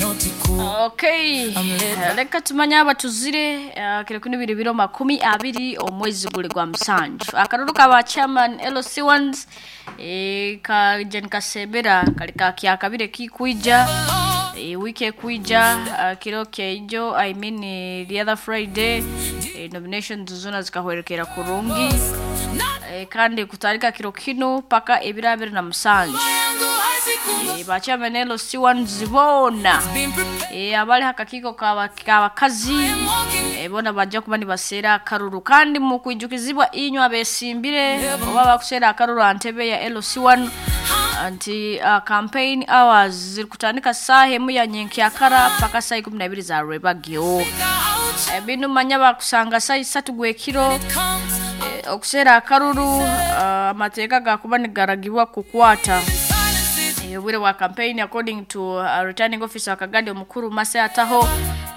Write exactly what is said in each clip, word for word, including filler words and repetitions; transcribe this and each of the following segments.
Okay, reka tumanye abatuzire uh, kiro kino biri biro makumi abiri omwezi guli gwa musanju. Akaruru ka chairman L C ones e, ka Jen Kasebera kali ka kyakabire kikwija e, wiki ekwija uh, kiro kyeijo, I mean eh, the other Friday e, nominations zona zikahwerekera kurungi e, kandi kutarika kiro kino paka ebiro abiri na musanju e, ba chairman L C ones bona e, abali hakakiiko kabakazi e, bona bajja kuba nibaseera akaruru. Kandi mu kwijukizibwa inywe abesimbire oba bakuseera akaruru antebe ya L C one nti uh, campaign hours ziri kutandika saaha emu ya nyenkyakara paka saa ikumi na ibiri za rwebagyo. E, binu manya bakusanga saa isatu gwekiro e, okuseera akaruru uh, amateeka gakuba nigaragibwa kukwata obwire bwa campaign according to uh, returning officer Kagadi omukuru Mase Ataho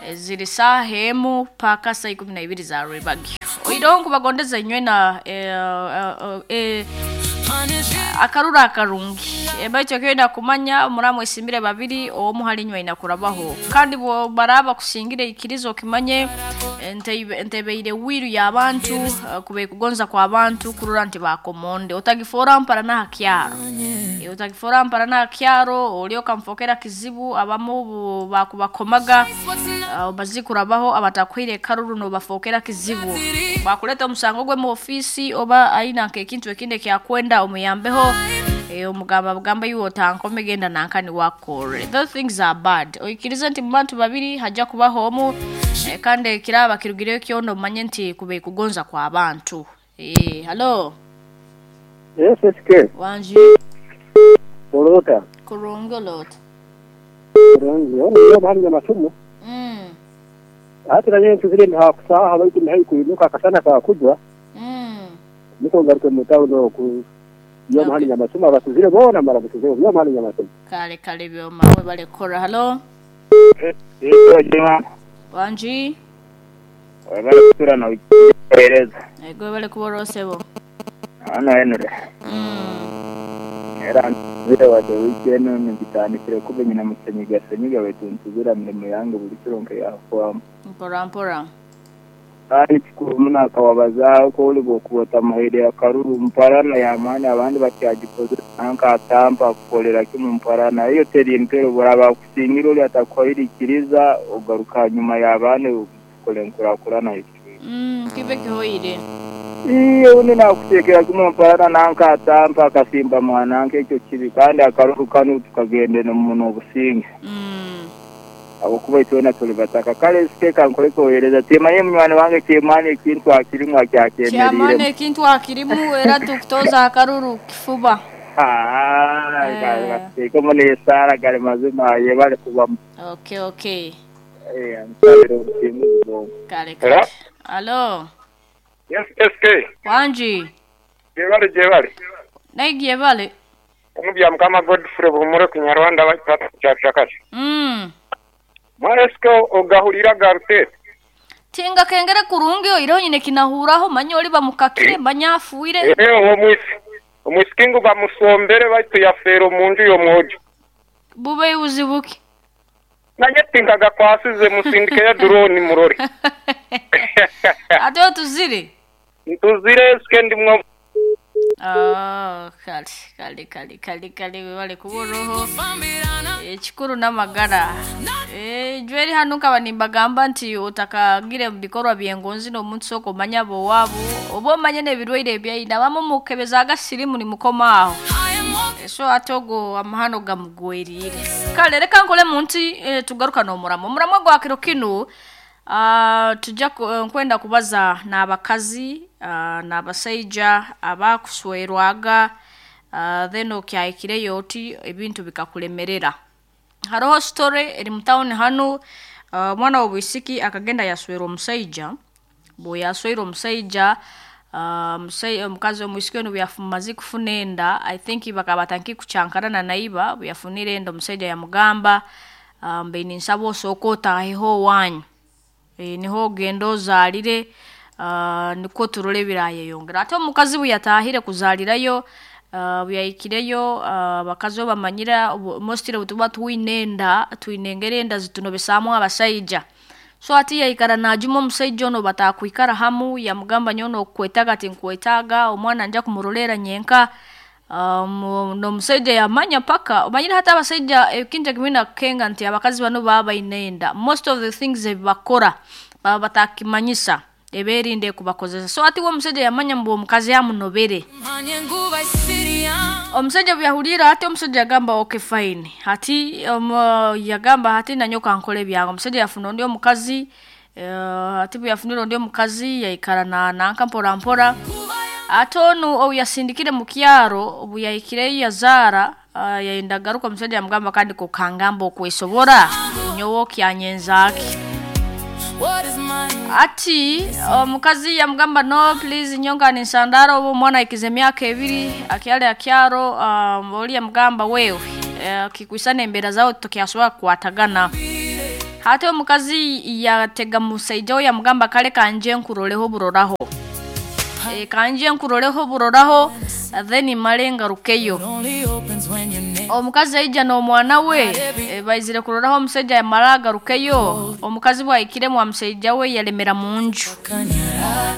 eh, ziri saaha emu paka saa ikumi na ibiri za rwebagyo. Oireho nkubagondeza inywe na eh, eh, eh, akaruru akarungi. Baitu ekyenda kumanya muramwesimbire babiri, omu hali inywe aina kurabaho. Kandi bwo baraba kusingire, ikiriza okimanye ntebeire wiru y'abantu eh, kube kugonza kwa abantu kurura nti bakomonde otagifora mpara nahakyaro e, otagifora mpara nahakyaro oli okamfokera kizibu. Abamu bu- bakubakomaga uh, bazikurabaho abatakwire karuru nobafokera kizibu, bakuleta omusango gwe mu ofisi oba aina nkekintu ekindi ekyakwenda omuyambeho e, omugamba bugamba iwe otankome genda nankani wakore. Those things are bad. Oikirize nti mu bantu babiri hajja kubaho omu e, kandi ekiraba kirugireyo kyono omanye nti kube kugonza kwa bantu e, halo. Yes, S K. Wanji. Bolota. Kurungolot. Kurungi. Ono yo mahali ya masumu. mm. Hata na yeye tuzile ni hakusaha baitu ni haikuinuka akasana kakujwa. Mm. Niko ngaruke mu town ku yo mahali ya masumu abatuzile bona mara batuzile yo mahali ya masumu. Kale kale, byoma we balekora. Halo. Wanji. Webale kusura na ukieleza. Ego bale kuborosebo. Hano Henry. mm. Era nzire wade weekend nigitandikire kube nyina musenyiga senyiga wetu ntuzira mirimo yange buli kiro nke yakwama. Mpora mpora. Kandi kikuru muno akawabazaho ko uli bwokubota mahere akaruru mparana yamaani abandi bakyagikoze nanka atampa kukolera kimu mparana iyo teri empero buraba kusingira oli atakuhirikiriza ogaruka nyuma y'abandi ukole nkurakurana. mm, kibe kihoire. Iyo undi nakutekera kimwe mparana nanka atampa akasimba mwananke ekyo kibi. Kandi akaruru kanu tukagendera muno obusinge mm. abukuba itwena tuli bataka. Kale siteka nkole kohereza timanye munywani wange kyemani ekintu akirimu Kyamani akyakyemereiremu. Ekintu akirimu era tukutoza akaruru kifuba. Eh. Gatekemo n'esaara gali mazima yebale kubamu. okay okay Eh, nsabira obusinguzi bwongo. Kale Hello? kale, alo. Yes, S K. Wanji. Jebale jebale. Naigiye bale. Omubya Mukama Godfrey Buhumure Kinyarwanda kyakati. mm. Mwana S K, ogahulira garute. Tinga kengere kurungi oireho nyine kinahuraho manye oli bamukakire manye afuire. Eh, omwisi. Omwisikingu bamusombere baitu yafeera omunju y'omwojo. Bube buzibuki. Naye tinkaga kwasize musindike ya drone murori. Ate otuzire. Ntuzire S K, ndimwo. Ah, kale kale kale kale kale, webale kuboroho. Ekikuru n'amagara. Eh, jweri hano nkaba nimbagamba nti otakagire mu bikorwa byengonzi n'omuntu sooka omanye abowaabo oba omanye n'ebirwaire ebyaina abamu mukebeza agasirimu nimukoma aho. Eh, so ate ogwo amahano gamugwerire. Kale reka nkole munti eh, tugaruka n'omuramo omuramo gwa kiro kinu. Uh, tujja ku- eh, nkwenda kubaza n'abakazi uh, n'abasaija abakuswerwaga uh, then okyahikireyo oti ebintu bikakulemerera. Hariho story eri mu town hanu. uh, omwana w'obwisiki akagenda yaswera omusaija. Bwe yaswera omusaija uh, musai- omukazi omwisiki onu bwe kufuna enda, I think bakaba batanki kucyankarana naiba. Bwe yafunire enda, omusaija yamugamba uh, mbe ninsaba osooka otaaheho owanyu e, niho ogenda ozaalire uh, nikwo turole ebirayeyongera. Ate omukazi bwe yataahire kuzaalirayo Uh, byayikireyo abakazi uh, bamanyira mostly butuba twine enda twine engeri enda zitunobesaamu abasaija. So ati yaikara najuma omusaija ono batakwikara hamu, yamugamba nyono okwetaga tinkwetaga, omwana nja kumurolera nyenka. Um, n'omusaija yamanya paka omanyire hata abasaija ekintu kimwe nakukenga nti abakazi bano baba baine enda, most of the things ebibakora baba batakimanyisa eberinde kubakozesa. So ati we omusaija yamanya mbu omukazi yamunobere. Omusajja bwe ati omusajja yagamba okay fine, hati um, yagamba hati nanyoka nkole ebyange. Omusajja yafuna ondi omukazi, uh, ati bwe yafunire ondi omukazi yaikara na nanka mpora mpora. Ate onu obu yasindikire mu kyaro, obu yahikireyo yazaara, uh, yayenda garuka, omusajja yamugamba kandi kokangamba okwesobora nyowe okyanyenzaaki. Ati omukazi yamugamba no please nyonga ninsandara obu omwana aikize emyaka ebiri akyali akyaro. Um, oli yamugamba wewe uh, kikwisana embeera zawe tukyasobora kukwatagana. Hati omukazi yatega musaija we yamugamba kale kanje nkuroleho buroraho, e, kanje nkuroleho buroraho then male ngarukeyo. Omukazi aija n'omwana we e, baizire kuroraho omusaija yamara agarukeyo. Omukazi bwahikiremu omusaija we yalemera munju,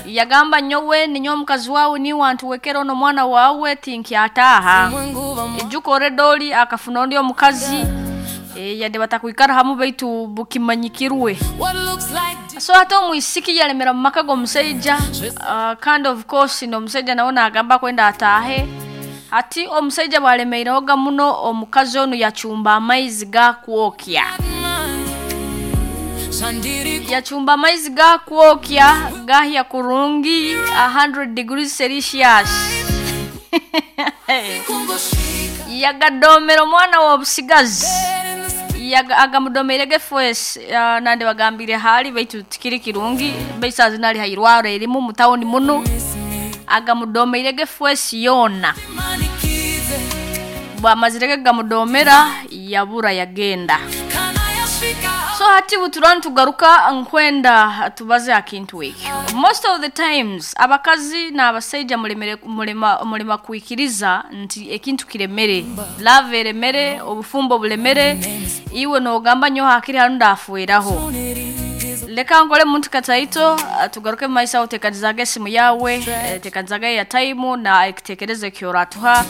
yagamba nyowe ninyo omukazi wawe niwe antuwekera ono mwana wawe tinkyataaha. Ejuka oredoli akafuna ondi omukazi e, yadde batakwikara hamu baitu bukimanyikirwe. So hata omwisiki yalemera mu maka g'omusaija, uh, kandi of course n'omusaija nawe nagamba kwenda ataahe. Ati omusaija bwalemeirehoga muno, omukazi onu yacumba amaizi gakwokya, yacumba amaizi gakwokya gahya kurungi one hundred degrees Celsius yagadomera omwana w'obusigazi, agamudomeire gefwesi. uh, nande bagambire hali baitu tikiri kirungi baisazi nali hairwaro erimu mu tawuni muno, agamudomeire gefwesi yona. Bwamazire gamudomera yabura yagenda. So hati buturani tugaruka nkwenda tubaze akintu ekyo. Most of the times abakazi n'abasaija mulemere mulema mulema kuikiriza nti ekintu kiremere, love eremere, obufumbo bulemere, iwe nogamba nyo hakiri hanu ndafueraho. Leka ngole muntu kataito tugaruke mu maisha utekanizaga esimu yawe, tekanizaga ya time na ekitekerezo kyoratuha.